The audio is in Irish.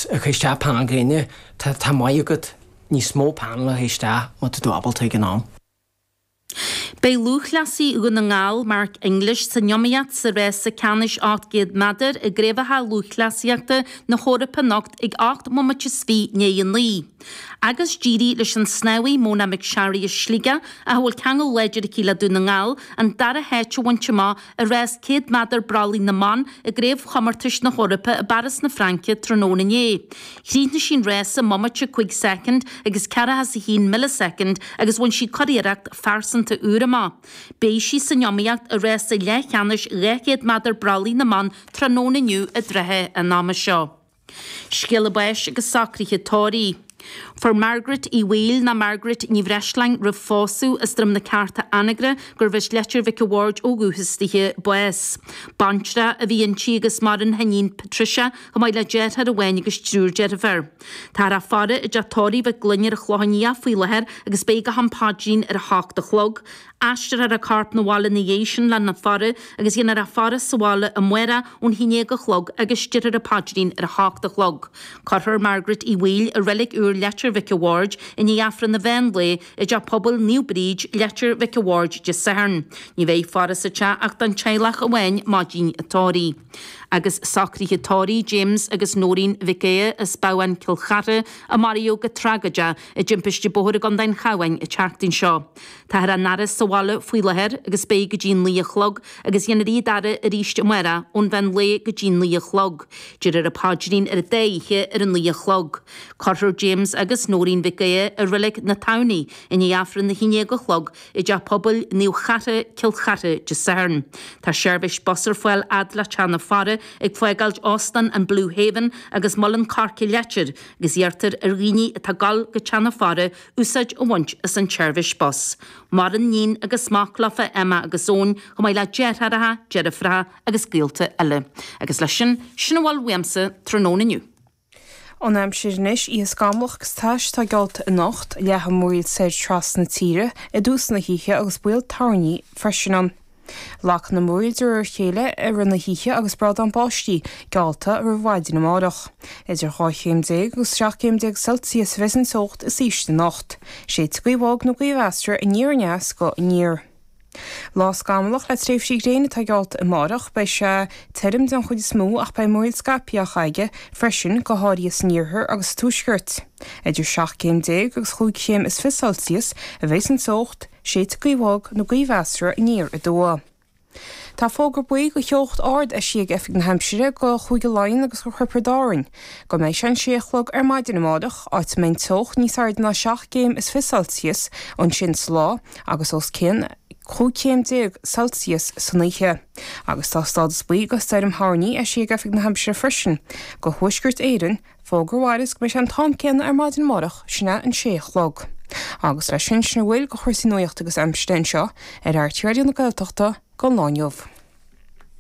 Ag cur isteach panel gréine, tá maith agat níos mó panel a chur isteach má tá tú ábalta ag an am. Beidh lúthchleasaí Dhún na nGall, Mark English, san iomaíocht sa rása ceannais 800 méadar i gCraobhacha Lúthchleasaíochta na hEorpa anocht ag 8 mbomaite is 20 i ndiaidh a 9. Agus d'éirigh leis an snámhaí Mona McSharry as Sligeach, ach a bhfuil ceangal láidir aici le Dún na nGall, an dara háit a bhaint amach i rás 100 méadar brollaigh na mban i gCraobhchomórtais na hEorpa i bPáras na Fraince tráthnóna inné. Chríochnaigh sí an rás i mbomaite 5 soicind agus 41 millisoicind agus bhain sí curiarracht phearsanta úr amach. Beidh sí san iomaíocht i rása leathcheannais 200 méadar brollaigh na mban tráthnóna inniu i dtrátha an ama seo. Scéala báis agus socruithe tórraimh. Fuair Margaret Uí Bhaoill nó Margaret Ní Bhreisleáin roimh phósadh as Droim na Cearta Anagaire gurbh as Leitir Mhic a' Bhaird ó dhúchas dithe bás. Baintreach a bhí inti agus maireann a hiníon Patricia chomh maith le deartháir amháin agus triúr deirfiúr. Táthar á faire i dteach tórraimh Mhic Gloinn ar an Chlochán Liath faoi láthair agus beidh go ham paidrín ar a hocht a chlog. Aistreofar a corp 'na bhaile ina dhiaidh sin lena faire agus dhéanfar a faire sa bhaile amárach ón haon déag a chlog agus déarfar an paidrín ar a hocht a chlog. Cuirfear Margaret Uí Bhaoill i Reilig Úr Leitir Mhic a' Bhaird i ndiaidh Aifreann an mheán lae i dTeach Pobail Naomh Bríd, Leitir Mhic a' Bhaird Dé Sathairn. Ní bheidh faire sa teach ach don teaghlach amháin maidin an tórraimh. Agus socruithe tórraimh James agus Nóirín Mhic Aodha as Babhán Cill Chartha a maraíodh go tragóideach i dtimpiste bóthair i gContae an Chabháin an tseachtain seo. Táthar á n-fhaire sa bhaile faoi láthair agus beidh go dtí an 9 a chlog agus dhéanfar iad a fhaire arís amárach ón mheán lae go dtí an 9 a chlog. Déarfar an paidrín ar an dá oíche ar an 9 a chlog. Cuirfear James agus Nóirín Mhic Aodha i Reilig na Tamhnaí i ndiaidh Aifreann a haon déag a chlog i dTeach Pobail Naomh Chartha, Cill Chartha, Dé Sathairn. Tá seirbhís bus ar fáil fhad le Teach na Faire ag fágáilt Óstán an Blue Haven agus Muileann Coirce Leitir agus iarrtar ar dhaoine atá ag dul go Teach na Faire úsáid a bhaint as an tseirbhís bus. Maireann níon agus mac leofa, Emma agus Eoin, chomh maith le deartháireacha, deirfiúracha agus gaolta eile. Agus leis sin, sin a bhfuil uaimse tráthnóna inniu. An aimsir anois, oíche scamallach agus tais atá geallta anocht, leathfaidh múraíl soir trasna na tíre i dtús na hoíche agus baol toirní freisin ann. Lagfaidh na múraíl de réir a chéile i rith na hoíche agus brádán báistí geallta roimh mhaidin amárach. Idir 12 chéim agus 17 céim Celsius a bheas an teocht is ísle anocht. Séidfidh gaoth bhog nó gaoth mheasartha aniar aneas go aniar. Lá scamallach le tréimhsí gréine atá geallta amárach. Beidh sé tirim den chuid is mó ach beidh múraíl scaipthe á charraige freisin, go háirithe san iarthar agus sa tuaisceart. Idir 17 céim agus chúig chéim is fiche Celsius a bheas an teocht. Séidfidh gaoth bhog nó gaoth mheasartha aniar aduaidh. Tá fógra buí do theocht ard eisithe ag Oifig na hAimsire do Chúige Laighean agus do Thiobraid Árann go mbeidh sé an sé a chlog ar maidin amárach, áit a mbeidh an teocht níos airde ná 17 gcéim is fiche Celsius ansin sa lá agus os cionn 15 chéim Celsius san oíche. Agus tá stádas buí do stoirm thoirní eisithe ag Oifig na hAimsire freisin do Thuaisceart Éireann, Fógra a mhairfeas go mbeidh sé an t-am céanna ar maidin amárach, sin é an sé a chlog. Agus leis sin, sin a bhfuil de chúrsaí nuachta agus aimsire anseo ar RTÉ Raidió na Gaeltachta don lá inniu.